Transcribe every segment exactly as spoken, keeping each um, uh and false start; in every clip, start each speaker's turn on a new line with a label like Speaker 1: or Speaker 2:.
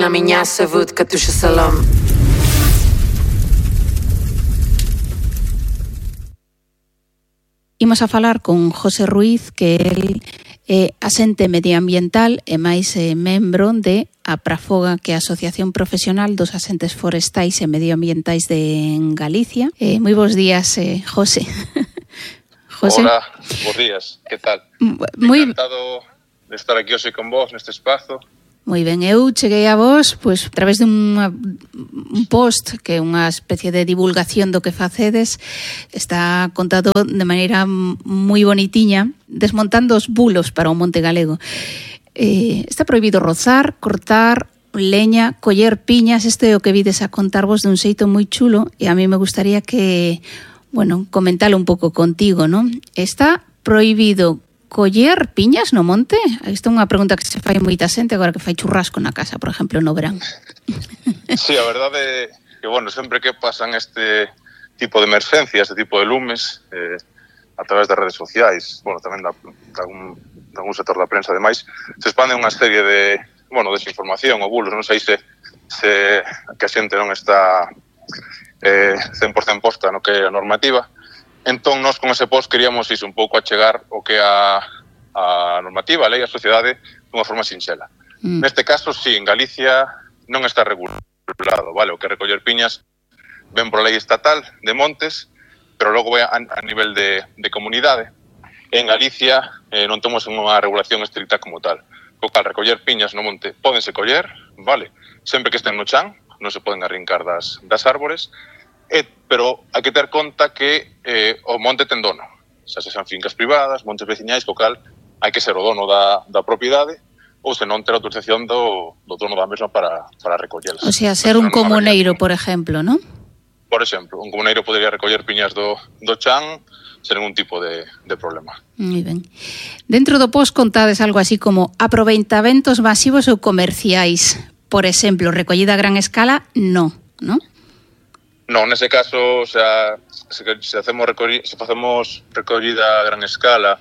Speaker 1: na minha vodka tuxa salam.
Speaker 2: Imos a falar con José Ruiz, que el é asente medioambiental e máis eh, membro de APRAFOGA, que é a Asociación Profesional dos Asentes Forestais e Medioambientais de Galicia. Eh, moi bons días, eh, José.
Speaker 3: José. Hola, bons días, que tal?
Speaker 2: Muy...
Speaker 3: Encantado de estar aquí hoxe con vos neste espazo.
Speaker 2: Moi ben, eu cheguei a vos pois, a través de unha, un post que é unha especie de divulgación do que facedes. Está contado de maneira moi bonitiña, desmontando os bulos para o Monte Galego. Eh, está prohibido rozar, cortar leña, coller piñas. Isto é o que vides a contarvos dun xeito moi chulo, e a mí me gustaría que, bueno, comentalo un pouco contigo, non? Está prohibido coller piñas no monte? Isto é unha pregunta que se fai moita xente agora que fai churrasco na casa, por exemplo, no verán.
Speaker 3: Sí, a verdade é que, bueno, sempre que pasan este tipo de emergencias, este tipo de lumes, eh, a través das redes sociais, bueno, tamén da, da, un, da un sector da prensa, ademais, se expande unha serie de, bueno, desinformación ou bulos, non sei se, se que a xente non está eh, cen por cento posta no que é a normativa. Entón, nós con ese post queríamos iso, un pouco achegar o que a, a normativa, a lei, a sociedade, dunha forma sinxela. Mm. Neste caso, sí, en Galicia non está regulado, vale? O que recoller piñas ven por lei estatal de montes, pero logo vai a, a nivel de, de comunidade. En Galicia eh, non temos unha regulación estricta como tal. O cal, recoller piñas no monte pódense coller, vale? Sempre que estén no chan, non se poden arrincar das, das árbores. Eh, pero hai que ter conta que eh, o monte ten dono, xa se xan fincas privadas, montes veciñais, co cal hai que ser o dono da, da propiedade ou se non ter autorización do, do dono da mesma para, para recollelas.
Speaker 2: O sea, ser un comuneiro, por exemplo, non?
Speaker 3: Por exemplo, un comuneiro podería recoller piñas do, do chan sen ningún tipo de, de problema.
Speaker 2: Moi ben. Dentro do post contades algo así como aproveitamentos masivos ou comerciais. Por exemplo, recollida a gran escala, no, non?
Speaker 3: Non, nese caso, o sea, se, se, hacemos recolli, se facemos recollida a gran escala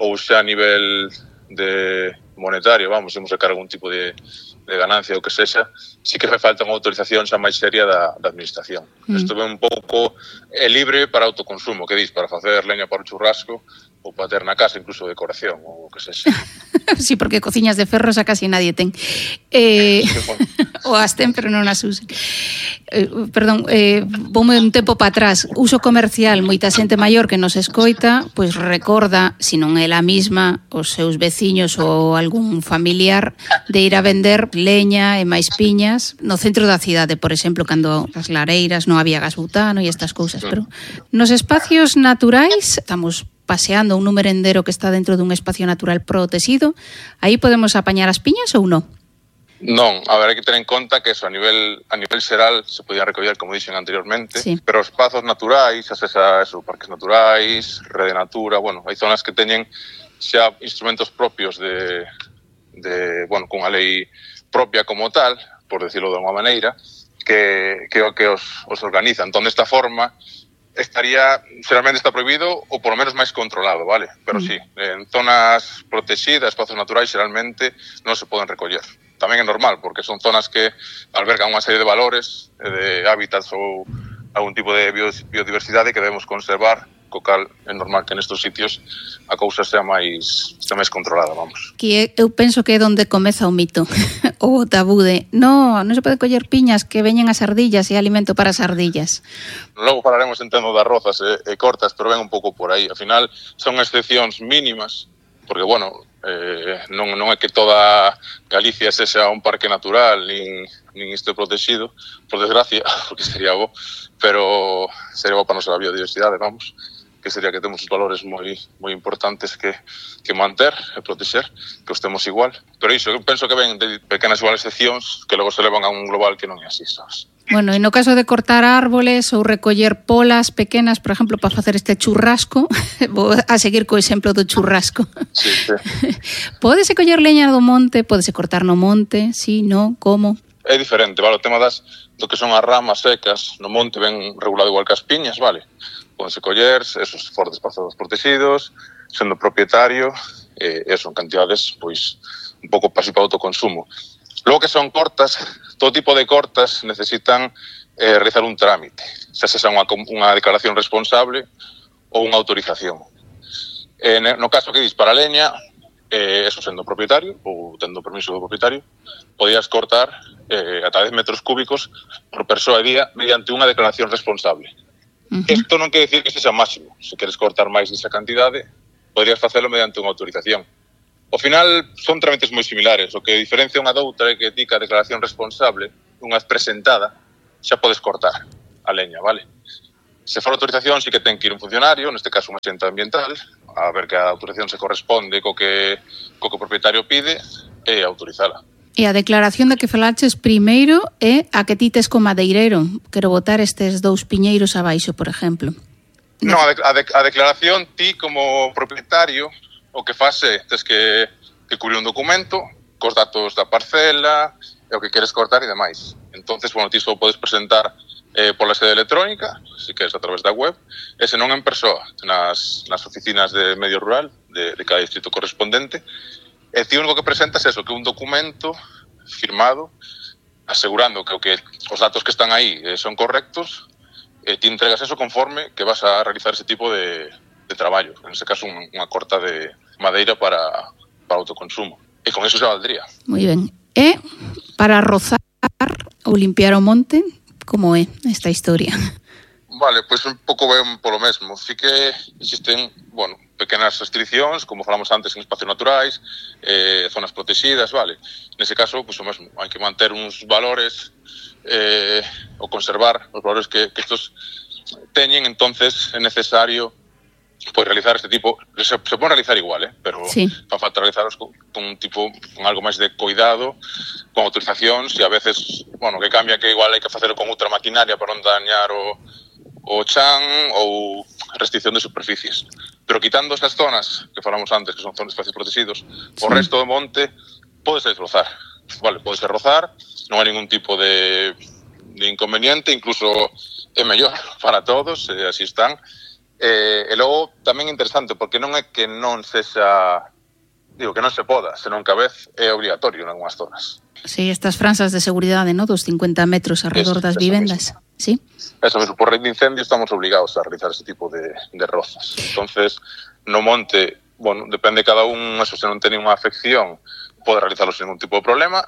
Speaker 3: ou xa a nivel de monetario, vamos, se sacar algún tipo de, de ganancia ou que sexa, sí que fai falta unha autorización xa máis seria da, da administración. Mm. Isto ven un pouco é libre para autoconsumo, que dis, para facer leña para o churrasco ou para ter na casa, incluso decoración ou o que sexa.
Speaker 2: Sí, porque cociñas de ferro xa casi nadie ten. Eh, ou as ten, pero non as usen. Eh, perdón, eh, voume un tempo para atrás. Uso comercial, moita xente maior que nos escoita, pois recorda, se non é a mesma, os seus veciños ou algún familiar de ir a vender leña e máis piñas no centro da cidade, por exemplo, cando as lareiras non había gas butano e estas cousas, pero nos espacios naturais estamos paseando un merendero que está dentro dun espacio natural protegido, aí podemos apañar as piñas ou non?
Speaker 3: Non, a ver, hai que ter en conta que eso a nivel a nivel xeral se podían recoller, como dixen anteriormente, sí. Pero os espazos naturais, xa sexa eso, parques naturais, rede natura, bueno, hai zonas que teñen xa instrumentos propios de, de bueno, cunha lei propia como tal, por decirlo de unha maneira, que, que, que os, os organizan. Entón, desta forma, estaría, xeralmente está prohibido ou por lo menos máis controlado, vale? Pero mm. sí, en zonas protegidas, espazos naturais, xeralmente non se poden recoller. Tamén é normal, porque son zonas que albergan unha serie de valores, de hábitats ou algún tipo de biodiversidade que debemos conservar, co cal é normal que nestes sitios a cousa sea máis, sea máis controlada, vamos.
Speaker 2: Que eu penso que é onde comeza o mito, o tabú de no, non se pode coller piñas que veñen as ardillas e alimento para as ardillas.
Speaker 3: Logo falaremos, entendo, das rozas e, e cortas, pero ven un pouco por aí. Al final son excepcións mínimas, porque, bueno, eh, non, non é que toda Galicia sexa un parque natural, nin, nin isto protegido, por desgracia, porque sería bo, pero sería bo para a nosa biodiversidade, vamos, que sería que temos os valores moi moi importantes que, que manter e protexer, que os temos igual. Pero iso, eu penso que ven de pequenas igual excepcións que logo se levan a un global que non é así, sabes?
Speaker 2: Bueno, e no caso de cortar árboles ou recoller polas pequenas, por exemplo, para facer este churrasco, vou a seguir co exemplo do churrasco.
Speaker 3: Sí, sí.
Speaker 2: Pódese coller leña do monte, pódese cortar no monte, sí, no, como?
Speaker 3: É diferente, vale, o tema das do que son as ramas secas no monte ven regulado igual que as piñas, vale? Pódense coller, esos for de espazos protegidos, sendo propietario, eh, eso, en cantidades, pois, un pouco pasivos para autoconsumo. Logo que son cortas, todo tipo de cortas necesitan eh, realizar un trámite, xa sexa unha, unha declaración responsable ou unha autorización. Eh, no caso que dis para a leña, eh, eso sendo propietario ou tendo permiso do propietario, podías cortar eh, ata dez metros cúbicos por persoa e día mediante unha declaración responsable. Uh-huh. Isto non quere dicir que sexa máximo. Se queres cortar máis desa cantidade, podrías facelo mediante unha autorización. Ao final, son trámites moi similares. O que diferencia unha doutra é que ti que a declaración responsable, unha vez presentada, xa podes cortar a leña, vale? Se for autorización, sí que ten que ir un funcionario, neste caso un axente ambiental, a ver que a autorización se corresponde co que, co que o propietario pide e autorizala.
Speaker 2: E a declaración da que falaches primeiro é a que ti tes co madeireiro. Quero botar estes dous piñeiros abaixo, por exemplo.
Speaker 3: Non, a, de, a, de, a declaración, ti como propietario, o que faz é, tes que, que cubrir un documento cos datos da parcela e o que queres cortar e demais. Entonces, bueno, ti só podes presentar eh, pola sede electrónica, se queres a través da web, e se non en persoa, nas, nas oficinas de medio rural de, de cada distrito correspondente. E ti único que presentas é eso, que un documento firmado asegurando que, o que os datos que están aí eh, son correctos, e ti entregas eso conforme que vas a realizar ese tipo de, de traballo, en ese caso un, unha corta de madeira para, para autoconsumo. E con eso se valdría.
Speaker 2: Moi ben. E para rozar ou limpiar o monte, como é esta historia?
Speaker 3: Vale, pois pues un pouco ben polo mesmo. Sí que existen, bueno, pequenas restriccións, como falamos antes, en espacios naturais, eh, zonas protegidas, vale. Nese caso, pois pues, o mesmo, hai que manter uns valores eh, ou conservar os valores que, que estos teñen, entonces é necesario pois realizar este tipo, se, se pode realizar igual, eh, pero sí. Fa falta realizarlos con, con un tipo, con algo máis de cuidado, con autorizacións, e a veces, bueno, que cambia que igual hai que facelo con outra maquinaria para non dañar o, o chan ou restricción de superficies. Pero quitando estas zonas que falamos antes, que son zonas de espacios protegidos, sí. O resto do monte pode ser rozar, vale, pode ser rozar, non hai ningún tipo de, de inconveniente, incluso é mellor para todos, e así están. Eh, e logo tamén é interesante porque non é que non sexa, digo, que non se poda, senón que a vez é obligatorio en algunhas zonas.
Speaker 2: Sí, estas franzas de seguridade, ¿no? Dos cincuenta metros alrededor das vivendas. Mismo. Sí.
Speaker 3: Eso mesmo, por lei de incendio estamos obligados a realizar ese tipo de, de rozas. Entonces, no monte, bueno, depende de cada un, eso se non ten unha afección, pode realizarlo sin ningún tipo de problema.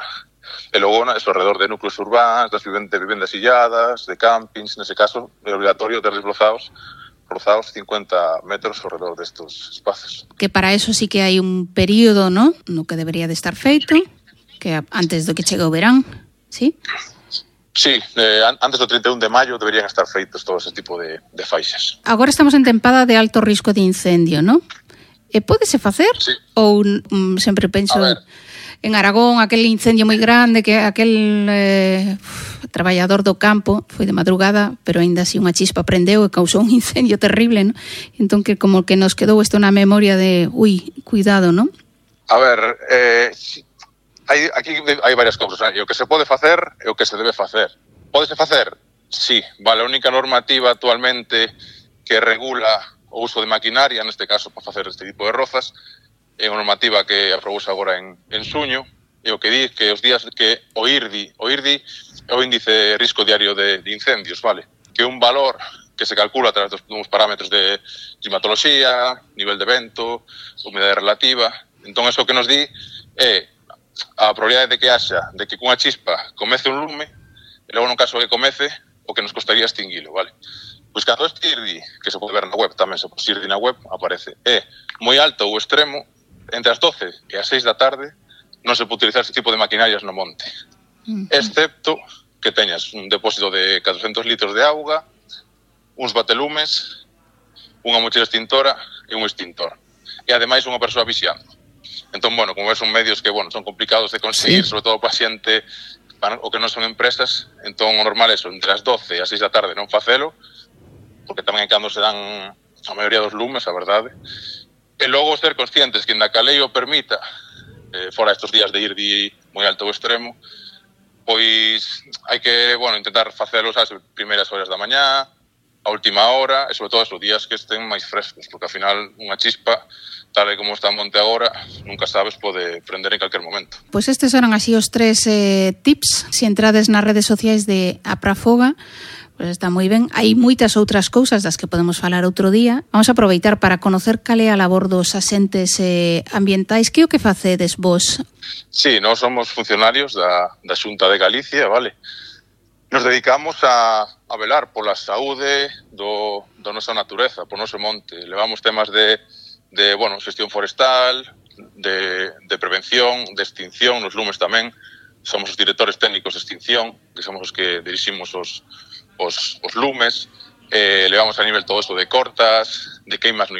Speaker 3: E logo, eso, alrededor de núcleos urbanos, das vivendas, vivendas illadas, de campings, nese caso, é obligatorio ter desblozados rozados cincuenta metros alrededor destos espacios.
Speaker 2: Que para eso sí que hai un período, ¿no? No que debería de estar feito, que antes do que chegue o verán, ¿sí?
Speaker 3: Sí, eh, antes do trinta e un de maio deberían estar feitos todo ese tipo de, de faixas.
Speaker 2: Agora estamos en tempada de alto risco de incendio, ¿no? E pódese facer?
Speaker 3: Sí.
Speaker 2: Ou um, sempre penso en Aragón, aquel incendio moi grande, que aquel eh, traballador do campo foi de madrugada, pero aínda así unha chispa prendeu e causou un incendio terrible, ¿no? Entón que como que nos quedou isto na memoria de, ui, cuidado, ¿no?
Speaker 3: A ver, eh, hai, aquí hai varias cousas, ¿eh? E o que se pode facer e o que se debe facer. Pódese facer? Sí, vale, a única normativa actualmente que regula o uso de maquinaria, neste caso para facer este tipo de rozas, é unha normativa que aprobouse agora en, en suño, e o que di que os días que o I R D I, o I R D I é o índice de risco diario de, de incendios, vale? Que é un valor que se calcula a través dos, dos parámetros de climatoloxía, nivel de vento, humedade relativa. Entón, eso que nos di é a probabilidade de que haxa, de que cunha chispa comece un lume, e logo no caso que comece, o que nos costaría extinguilo, vale? Pois cando este I R D I, que se pode ver na web tamén, se pode I R D I na web, aparece, é moi alto ou extremo, entre as doce e as seis da tarde non se pode utilizar este tipo de maquinarias no monte, uh-huh. Excepto que teñas un depósito de catrocentos litros de auga, uns batelumes, unha mochila extintora e un extintor. E ademais unha persoa vixiando. Entón, bueno, como ves, son medios que, bueno, son complicados de conseguir, sí. Sobre todo para xente o que non son empresas, entón o normal é eso, entre as doce e as seis da tarde non facelo, porque tamén é cando se dan a maioría dos lumes, a verdade. E logo ser conscientes que ainda que a lei o permita, eh, fora estes días de I R D I moi alto ou extremo, pois hai que, bueno, intentar facelo as primeiras horas da mañá, a última hora e sobre todo esos días que estén máis frescos, porque ao final unha chispa, tal e como está en monte agora, nunca sabes, pode prender en calquer momento.
Speaker 2: Pois pues estes eran así os tres eh, tips. Se entrades nas redes sociais de Aprafoga, pois pues está moi ben. Hai moitas outras cousas das que podemos falar outro día. Vamos a aproveitar para conocer cal é a labor dos asentes eh, ambientais. Que o que facedes vos?
Speaker 3: Sí, nós somos funcionarios da, da Xunta de Galicia, vale? Nos dedicamos a, a velar pola saúde do, do nosa natureza, por noso monte. Levamos temas de, de bueno, xestión forestal, de, de prevención, de extinción, nos lumes tamén. Somos os directores técnicos de extinción, que somos os que diriximos os, os, os lumes. Eh, levamos a nivel todo eso de cortas, de queimas no inverno,